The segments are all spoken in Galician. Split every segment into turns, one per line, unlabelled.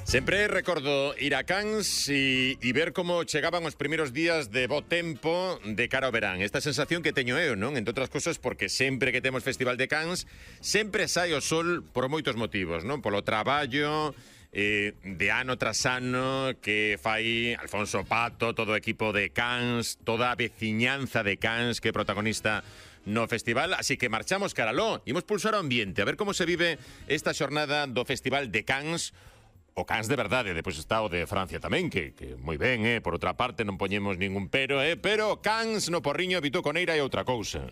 Sempre recordo ir a Cans e ver como chegaban os primeiros días de bo tempo de cara ao verán. Esta sensación que teño eu, non? Entre outras cosas, porque sempre que temos Festival de Cans, sempre sai o sol por moitos motivos, non? Polo traballo, de ano tras ano que fai Alfonso Pato, todo o equipo de Cans, toda a veciñanza de Cans que é protagonista no festival, así que marchamos caraló, imos pulsar o ambiente, a ver como se vive esta xornada do Festival de Cans. O Cans de verdade, depois está o de Francia tamén, que moi ben, por outra parte non poñemos ningún pero, pero Cans no porriño, Vito Coneira e outra cousa.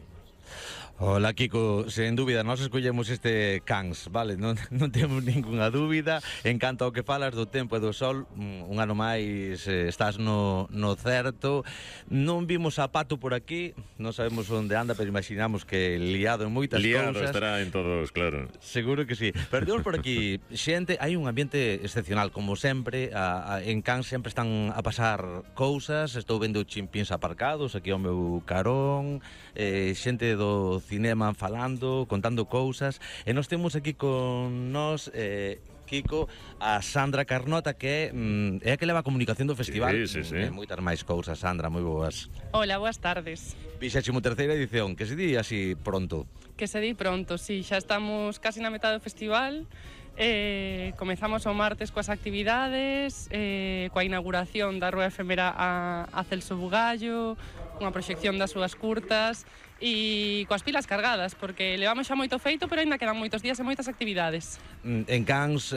Hola, Kiko, sen dúbida, nós escollemos este Cans, vale? Non temos ninguna dúbida. En canto ao que falas do tempo e do sol, un ano máis estás no certo. Non vimos a Pato por aquí, non sabemos onde anda, pero imaginamos que liado en moitas cousas.
Liado estará en todos, claro.
Seguro que sí. Pero temos por aquí xente, hai un ambiente excepcional, como sempre. En Cans sempre están a pasar cousas. Estou vendo chimpíns aparcados aquí ao meu carón, xente do cinema falando, contando cousas, e nós temos aquí con nós Kiko, a Sandra Carnota, que é a que leva a comunicación do festival.
Sí.
E moitas máis cousas. Sandra, moi boas.
Hola, boas tardes.
23ª edición, que se di así pronto.
Que se di pronto, sí, xa estamos casi na metade do festival. Comezamos o martes coas actividades, coa inauguración da rúa efemera a Celso Bugallo, unha proxección das súas curtas e coas pilas cargadas, porque levamos xa moito feito, pero ainda quedan moitos días e moitas actividades.
En Cans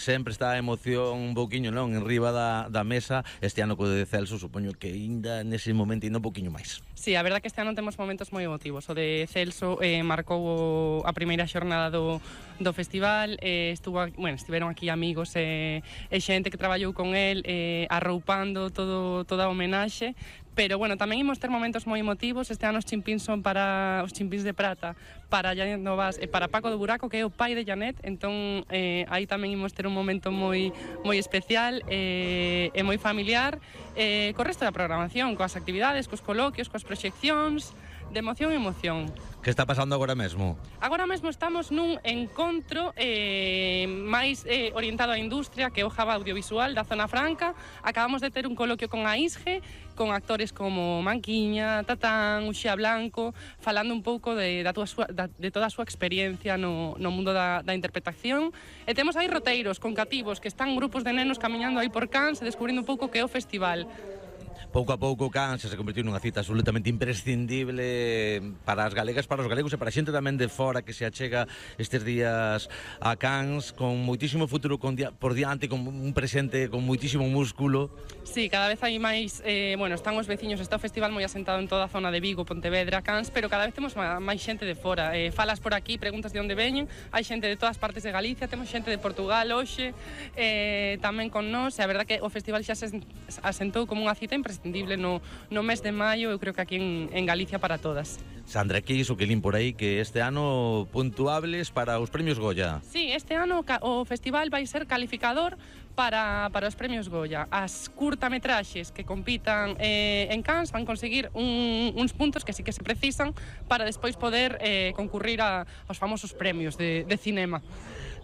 sempre está a emoción un pouquiño, non? En riba da mesa. Este ano co de Celso, supoño que ainda nese momento ainda un pouquiño máis.
Sí, a verdad que este ano temos momentos moi emotivos. O de Celso marcou a primeira xornada do festival, estiveron aquí amigos e xente que traballou con el arroupando toda a homenaxe. Pero, tamén imos ter momentos moi emotivos. Este ano os chimpíns son para os chimpíns de prata para Janet Novas e para Paco do Buraco, que é o pai de Janet. Entón, aí tamén imos ter un momento moi especial e moi familiar, co resto da programación, coas actividades, cos coloquios, coas proxeccións, de emoción en emoción.
Que está pasando agora mesmo?
Agora mesmo estamos nun encontro máis orientado á industria, que é o Hub Audiovisual da Zona Franca. Acabamos de ter un coloquio con a ISGE, con actores como Manquiña, Tatán, Uxía Blanco, falando un pouco de toda a súa experiencia no mundo da interpretación. E temos aí roteiros con cativos, que están grupos de nenos camiñando aí por Cans e descubrindo un pouco que é o festival.
Pouco a pouco Cans se convertiu nunha cita absolutamente imprescindible para as galegas, para os galegos e para a xente tamén de fora que se achega estes días a Cans, con moitísimo futuro por diante, con un presente con moitísimo músculo.
Sí, cada vez hai máis, están os veciños, está o festival moi asentado en toda a zona de Vigo, Pontevedra, Cans, pero cada vez temos máis xente de fora. Falas por aquí, preguntas de onde veñen, hai xente de todas partes de Galicia, temos xente de Portugal hoxe, tamén con nós, e a verdad que o festival xa se asentou como unha cita imprescindible no mes de maio, eu creo que aquí en Galicia para todas.
Sandra, que iso que lín por aí, que este ano puntuables para os premios Goya.
Sí, este ano o festival vai ser calificador para os premios Goya. As curtametraxes que compitan en Cans van conseguir uns puntos que sí que se precisan para despois poder concurrir aos famosos premios de cinema.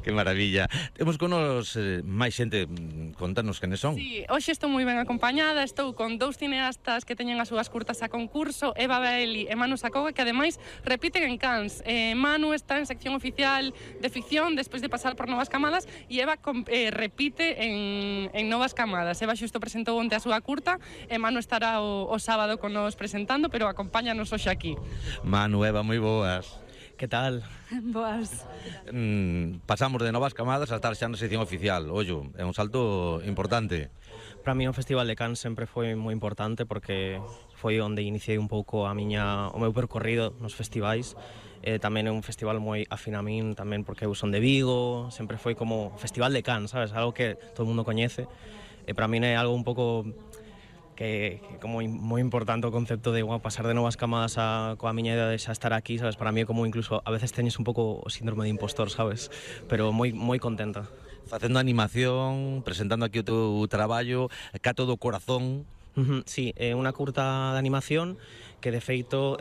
Que maravilla. Temos con nos máis xente, contanos quenes son.
Sí, hoxe estou moi ben acompañada, estou con dous cineastas que teñen as súas curtas a concurso, Eva Baeli e Manu Sacoga, que ademais repiten en Cans. Manu está en sección oficial de ficción despois de pasar por Novas Camadas e Eva repite en Novas Camadas. Eva xusto presentou onte a súa curta e Manu estará o sábado con nos presentando, pero acompáñanos hoxe aquí.
Manu, Eva, moi boas.
Que tal?
Boas.
Pasamos de Novas Camadas a estar xa na sección oficial. Ollo, é un salto importante.
Para mí o Festival de Cans sempre foi moi importante porque foi onde iniciei un pouco o meu percorrido nos festivais. Tamén é un festival moi afín a min, tamén porque eu son de Vigo, sempre foi como Festival de Cans, sabes? Algo que todo o mundo coñece. E para min é algo un pouco que como moi importante o concepto de pasar de Novas Camadas coa miña idea de xa estar aquí, sabes? Para mí é como incluso a veces teñes un pouco o síndrome de impostor, sabes? Pero moi contenta.
Facendo animación, presentando aquí o teu traballo, cá todo o corazón.
Sí, é unha curta de animación que de feito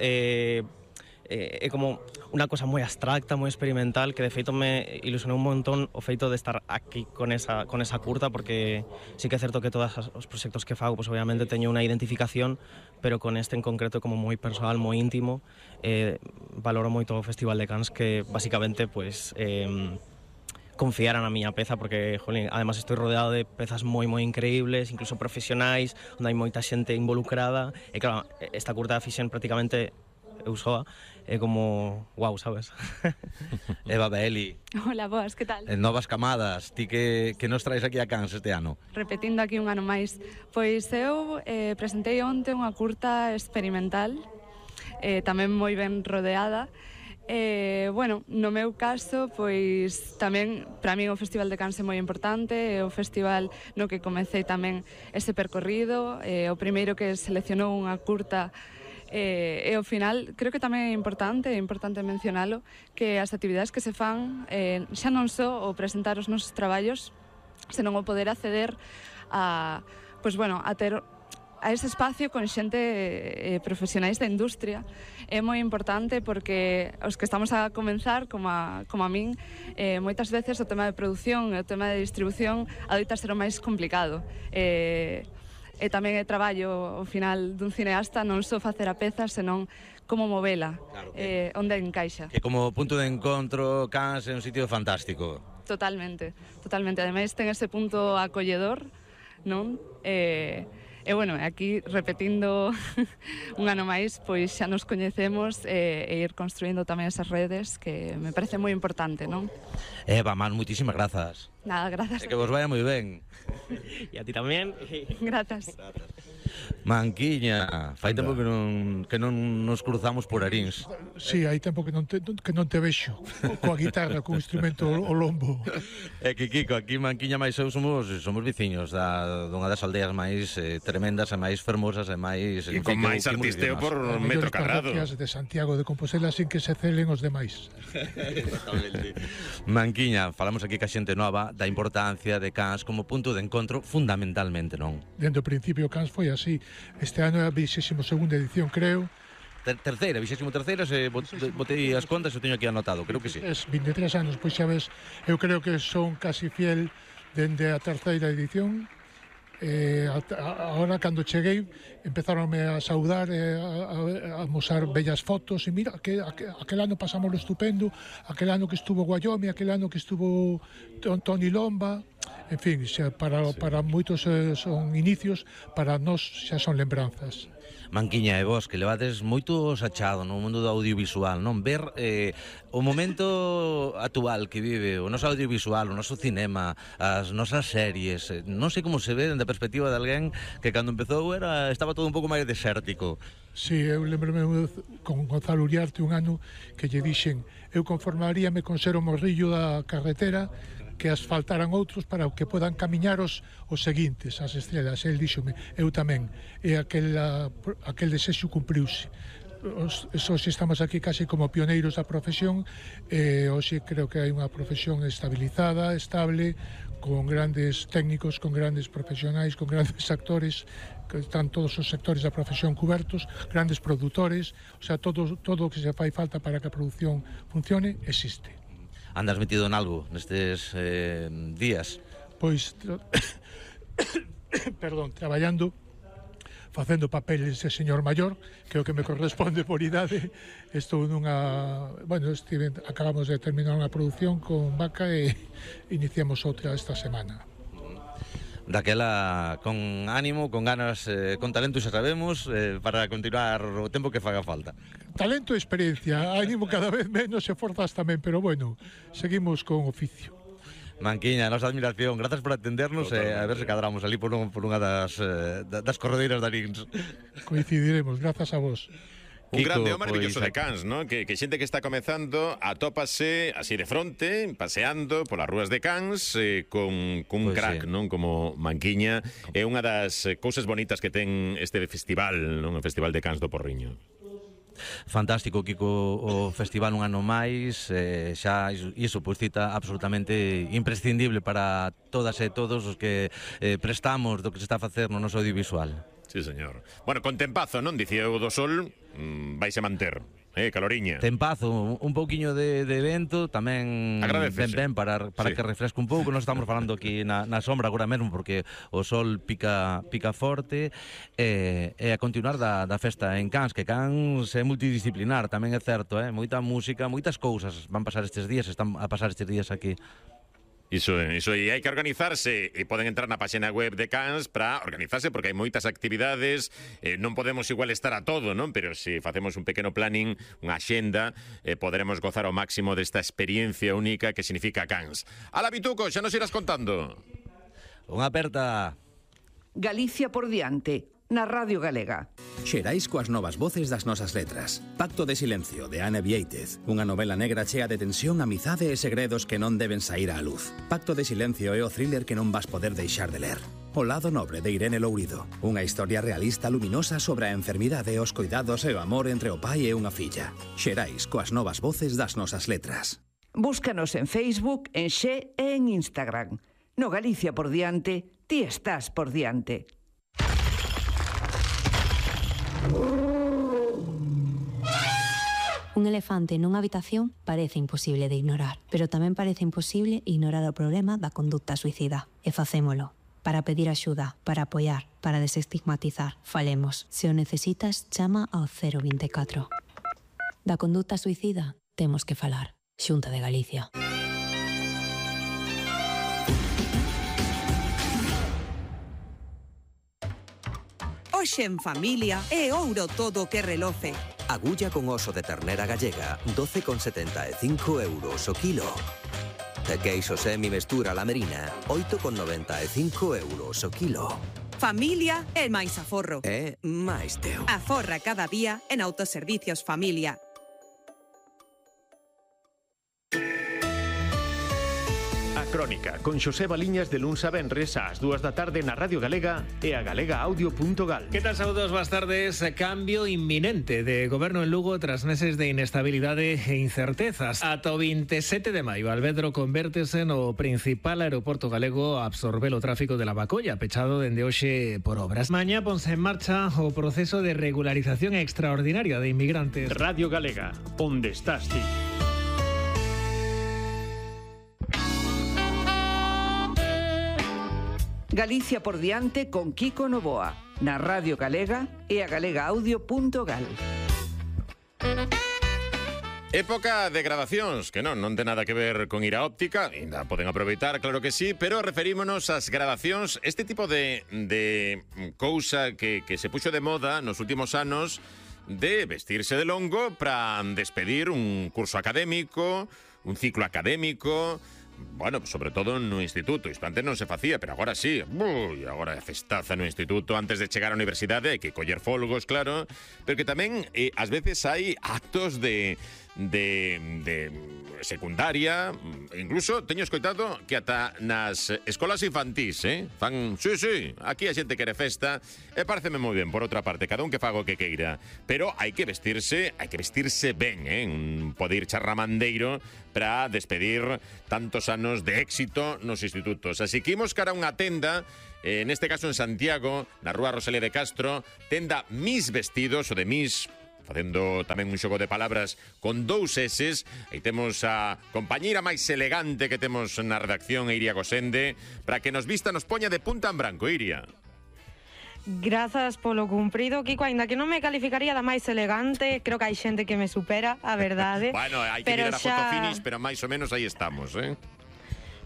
é como unha cosa moi abstracta, moi experimental, que de feito me ilusionou un montón o feito de estar aquí con esa curta, porque sí que é certo que todos os proxectos que fago, pues obviamente teño unha identificación, pero con este en concreto como moi personal, moi íntimo, valoro moito o Festival de Cannes, que basicamente pues confiaran na miña peza, porque, jolín, además estou rodeado de pezas moi increíbles, incluso profesionais, onde hai moita xente involucrada, e claro, esta curta fixen prácticamente eu soa, é como, wow, sabes?
Eva Baeli,
Hola, boas, que tal?
novas camadas, ti que nos traes aquí a Cannes este ano?
Repetindo aquí un ano máis. Pois eu presentei onte unha curta experimental, tamén moi ben rodeada. Bueno, no meu caso, pois tamén para mí o Festival de Cannes é moi importante, é o festival no que comecei tamén ese percorrido, o primeiro que seleccionou unha curta, e ao final creo que tamén é importante mencionalo, que as actividades que se fan xa non só o presentar os nosos traballos, senón o poder acceder a, pois bueno, a ter a ese espacio con xente profesionais da industria. É moi importante porque os que estamos a comenzar, como a min, moitas veces o tema de produción e o tema de distribución adoita ser o máis complicado. E tamén é traballo ao final dun cineasta non só facer a peza, senón como movela, claro, onde encaixa.
Que como punto de encontro, Cannes é un sitio fantástico.
Totalmente. Ademais ten ese punto acolledor, non? E bueno, aquí repetindo un ano máis, pois xa nos coñecemos e ir construindo tamén esas redes, que me parece moi importante, non?
Eva, Man, moitísimas grazas.
Nada, grazas.
Que vos vaya moi ben.
E a ti tamén.
Grazas.
Manquiña, fai tempo que non nos cruzamos por Arins.
Sí, hai tempo que non te vexo coa guitarra, co instrumento o lombo.
É que Kiko, aquí Manquiña máis eu somos veciños dunha das aldeas máis tremendas e máis fermosas e máis...
E con máis artisteo por metro carrado.
De Santiago de Compostela sin que se celen os demais.
Exactamente. Manquiña, falamos aquí ca xente nova da importancia de Cannes como punto de encontro fundamentalmente, non?
Dende o principio Cannes foi así. Este ano é a 22ª edición, creo.
Terceira, 23ª, se botei as contas, eu teño aquí anotado, creo que sí.
Es 23 anos, pois xa ves, eu creo que son casi fiel dende a terceira edición. Ahora, cando cheguei, empezaronme a saudar, a mostrar bellas fotos, e mira, aquel ano pasámoslo estupendo, aquel ano que estuvo Guayomi, aquel ano que estuvo Toni Lomba. En fin, para moitos son inicios, para nós xa son lembranzas.
Manquiña, e vos, que levades moito sachado no mundo do audiovisual, non? Ver o momento actual que vive o noso audiovisual, o noso cinema, as nosas series, non sei como se ve dende a perspectiva de alguén que cando empezou estaba todo un pouco máis desértico.
Sí, eu lembrome con Gonzalo Uriarte un ano que lle dixen eu conformaríame con ser o morrillo da carretera, que asfaltaran outros para que podan camiñar os seguintes, as estrelas. El díxome, eu tamén, e aquel desexo cumpriuse. Hoxe estamos aquí casi como pioneiros da profesión, e hoxe creo que hai unha profesión estabilizada, estable, con grandes técnicos, con grandes profesionais, con grandes actores, que están todos os sectores da profesión cubertos, grandes produtores, o sea, todo o que se fai falta para que a produción funcione, existe.
Andas metido en algo nestes días?
Pois, perdón, traballando, facendo papeles de señor maior, que é o que me corresponde por idade. Estou nunha... Bueno, acabamos de terminar unha produción con Vaca e iniciamos outra esta semana.
Daquela con ánimo, con ganas, con talento, xa sabemos, para continuar o tempo que faga falta.
Talento e experiencia, ánimo cada vez menos e forzas tamén, pero bueno, seguimos con oficio.
Manquiña, a nosa admiración, grazas por atendernos e a ver se cadramos ali por unha das corredeiras de Arins.
Coincidiremos, grazas a vos.
Un grande o maravilloso de Cannes, ¿no? Que xente que está comezando atópase así de fronte, paseando polas rúas de Cannes, con un crack, non? Como Manquiña. É unha das cousas bonitas que ten este festival, non? O Festival de Cannes do Porriño.
Fantástico, Kiko, o festival un ano máis, xa iso pois cita absolutamente imprescindible para todas e todos os que prestamos do que se está a facer no noso audiovisual.
Sí, señor. Bueno, con tempazo, non? Dicía o do Sol, vaise manter. caloriña.
Tempazo, un pouquiño de vento tamén
Agradecese.
ben para
Sí.
que refresque un pouco. Nós estamos falando aquí na sombra agora mesmo porque o sol pica forte e a continuar da festa en Cans, que Cans é multidisciplinar, tamén é certo, moita música, moitas cousas van pasar estes días, están a pasar estes días aquí.
Iso, e hai que organizarse e poden entrar na página web de Cans para organizarse porque hai moitas actividades, non podemos igual estar a todo, non? Pero se facemos un pequeno planning, unha axenda, poderemos gozar ao máximo desta experiencia única que significa Cans. Ala, Bituco, xa nos irás contando.
Unha aperta.
Galicia por diante, na Radio Galega.
Xerais coas novas voces das nosas letras. Pacto de silencio, de Ana Viéitez. Unha novela negra chea de tensión, amizade e segredos que non deben saír á luz. Pacto de silencio é o thriller que non vas poder deixar de ler. O lado nobre de Irene Lourido. Unha historia realista luminosa sobre a enfermidade, os cuidados e o amor entre o pai e unha filla. Xerais coas novas voces das nosas letras.
Búscanos en Facebook, en Xe e en Instagram. No Galicia por diante, ti estás por diante.
Un elefante nunha habitación parece imposible de ignorar, pero tamén parece imposible ignorar o problema da conducta suicida. E facémolo. Para pedir axuda, para apoiar, para desestigmatizar. Falemos. Se o necesitas, chama ao 024. Da conducta suicida, temos que falar. Xunta de Galicia.
Hoxe en familia é ouro todo o que reloce.
Agulla con oso de ternera gallega, 12,75 euros o kilo. E queixo semi mestura lamerina, 8,95 euros o kilo.
Familia é máis aforro.
É máis teu.
Aforra cada día en Autoservicios Familia.
Crónica, con Xosé Baliñas de luns a venres ás 2 da tarde na Radio Galega e a galegaaudio.gal.
Que tal, saúdos, boas tardes. Cambio inminente de goberno en Lugo tras meses de inestabilidade e incertezas. Ata o 27 de maio, Alvedro convértese no principal aeroporto galego a absorber o tráfico de Lavacolla, pechado dende hoxe por obras. Mañá ponse en marcha o proceso de regularización extraordinaria de inmigrantes.
Radio Galega, onde estás ti?
Galicia por diante con Kiko Novoa, na Radio Galega e a galegaaudio.gal.
Época de gradacións, que non ten nada que ver con ir á óptica, ainda poden aproveitar, claro que sí, pero referímonos ás gradacións, este tipo de cousa que se puxo de moda nos últimos anos, de vestirse de longo para despedir un curso académico, un ciclo académico. Bueno, sobre todo no instituto. Isto antes non se facía, pero agora sí. Agora é festaza no instituto. Antes de chegar á universidade hai que coller folgos, claro. Pero que tamén, ás veces, hai actos de secundaria. Incluso teño escoitado que ata nas escolas infantís, fan, sí, aquí a xente quere festa. E pareceme moi ben, por outra parte, cada un que faga o que queira. Pero hai que vestirse ben, un poder charramandeiro para despedir tantos anos de éxito nos institutos. Así que imos cara a unha tenda, neste caso en Santiago, na rúa Rosalía de Castro, tenda Mis Vestidos, ou de Mis, facendo tamén un xogo de palabras con 2 S's. Aí temos a compañeira máis elegante que temos na redacción, Iria Gosende, para que nos vista, nos poña de punta en branco. Iria.
Grazas polo cumprido, Kiko, aínda que non me calificaría da máis elegante, creo que hai xente que me supera, a verdade.
Bueno, hai que mirar a foto finish, pero máis ou menos aí estamos,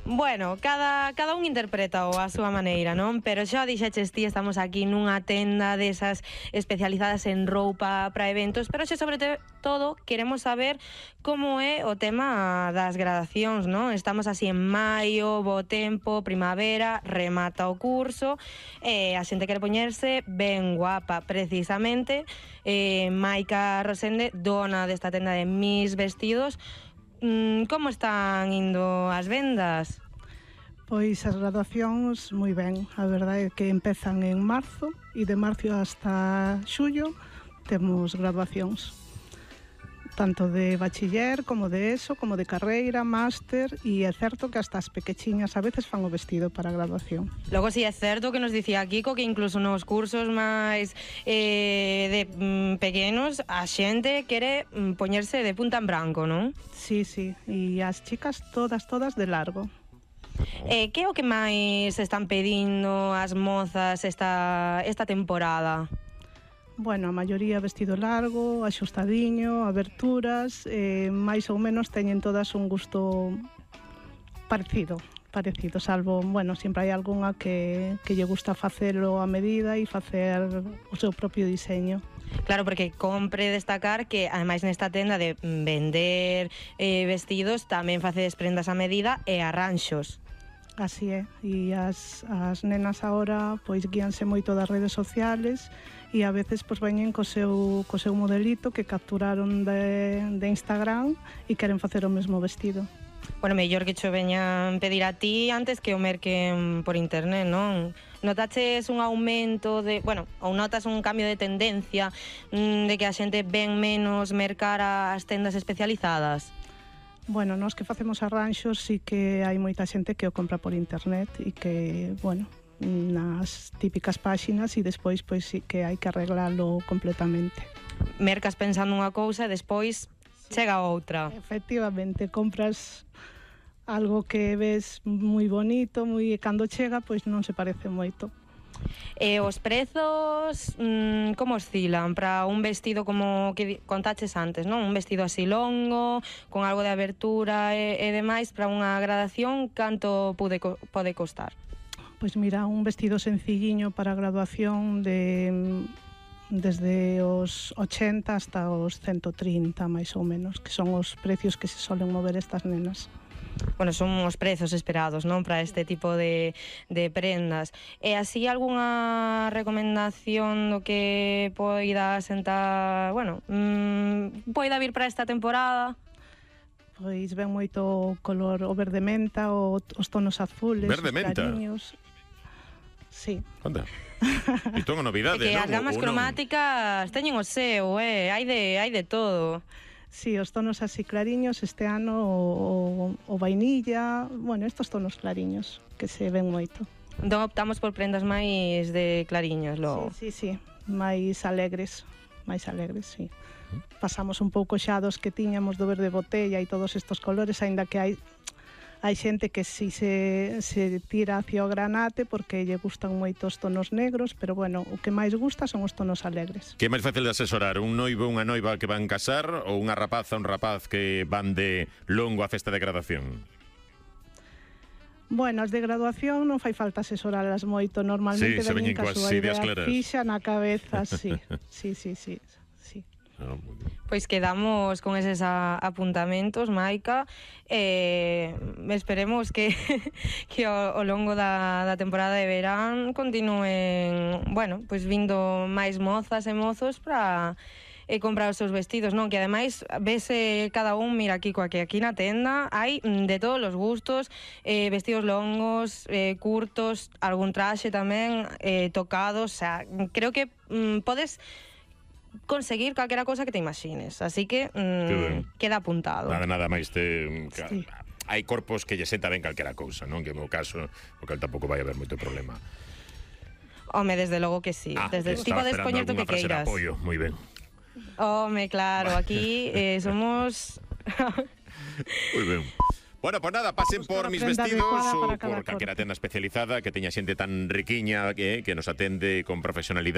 Bueno, cada un interpreta a súa maneira, non? Pero xa dixeches ti, estamos aquí nunha tenda desas especializadas en roupa para eventos, pero xa sobre todo queremos saber como é o tema das gradacións, non? Estamos así en maio, bo tempo, primavera, remata o curso, a xente quere poñerse ben guapa, precisamente. Maica Rosende, dona desta tenda de Mis Vestidos, como están indo as vendas?
Pois as graduacións moi ben, a verdade é que empezan en marzo e de marzo hasta xullo temos graduacións. tanto de bachiller como de ESO, como de carreira, máster, e é certo que hasta as pequechiñas a veces fan o vestido para a graduación.
Logo, si é certo que nos dicía Kiko que incluso nos cursos máis de pequenos a xente quere poñerse de punta en branco, non?
Sí, sí, e as chicas todas de largo.
Que é o que máis están pedindo as mozas esta temporada?
Bueno, a maioría vestido largo, axustadiño, aberturas, máis ou menos teñen todas un gusto parecido, salvo, bueno, sempre hai algunha que lle gusta facelo a medida e facer o seu propio diseño.
Claro, porque compre destacar que, ademais, nesta tenda de vender vestidos, tamén facedes prendas a medida e arranxos.
Así é, e as nenas agora pois guíanse moito das redes sociales e a veces pois veñen co seu modelito que capturaron de Instagram e queren facer o mesmo vestido.
Bueno, mellor que cho veñan pedir a ti antes que o merquen por internet, non? Notaches un aumento ou notas un cambio de tendencia de que a xente ven menos mercar as tendas especializadas?
Bueno, nós que facemos arranxos sí que hai moita xente que o compra por internet e que, bueno, nas típicas páxinas e despois pois sí que hai que arreglalo completamente.
Mercas pensando unha cousa e despois chega outra.
Efectivamente, compras algo que ves moi bonito, moi cando chega, pois non se parece moito.
E os prezos como oscilan para un vestido como que contaches antes, non? Un vestido así longo, con algo de abertura e demais, para unha gradación, canto pode costar?
Pois mira, un vestido sencilliño para a graduación desde os 80 hasta os 130, máis ou menos, que son os precios que se solen mover estas nenas.
Bueno, son os prezos esperados, non, para este tipo de prendas. E así algunha recomendación do que poida sentar, bueno, poida vir para esta temporada?
Pois ven moito color o verde menta, os tonos azules,
verde menta?
Clariños. Sí.
Anda. Isto é unha novidade,
que
non?
As gamas cromáticas teñen o seu, hai de todo.
Sí, os tonos así clariños, este ano o vainilla, bueno, estos tonos clariños que se ven moito.
Entón optamos por prendas máis de clariños, logo.
Sí, máis alegres, sí. Pasamos un pouco xa dos que tiñamos do verde botella e todos estos colores, aínda que hai xente que si se tira hacia o granate porque lle gustan moito os tonos negros, pero bueno, o que máis gusta son os tonos alegres.
Que é máis fácil de asesorar? Un noivo, unha noiva que van casar ou unha rapaza, un rapaz que van de longo a festa de graduación?
Bueno, as de graduación non fai falta asesoralas moito, normalmente veñen ca súa idea fixa na cabeza, sí.
Pois quedamos con eses apuntamentos, Maica, esperemos que ao longo da temporada de verán continúen, bueno, pois vindo máis mozas e mozos para comprar os seus vestidos, non? Que ademais vese cada un, mira, Kiko, que aquí na tenda hai de todos os gustos, vestidos longos, curtos, algún traxe tamén, tocados, o sea, creo que podes conseguir calquera cosa que te imagines, así que queda apuntado.
Nada máis hai corpos que lle senta ben calquera cousa, non? Que no meu caso, porque tampouco vai haber moito problema.
Home, desde logo que sí. Desde ti podes poñer o que queiras.
Apoio, moi ben.
Home, claro, aquí somos
moi ben. Bueno, pues nada, pasen por mis vestidos ou por calquera tenda especializada que teña xente tan riquiña que nos atende con profesionalidade.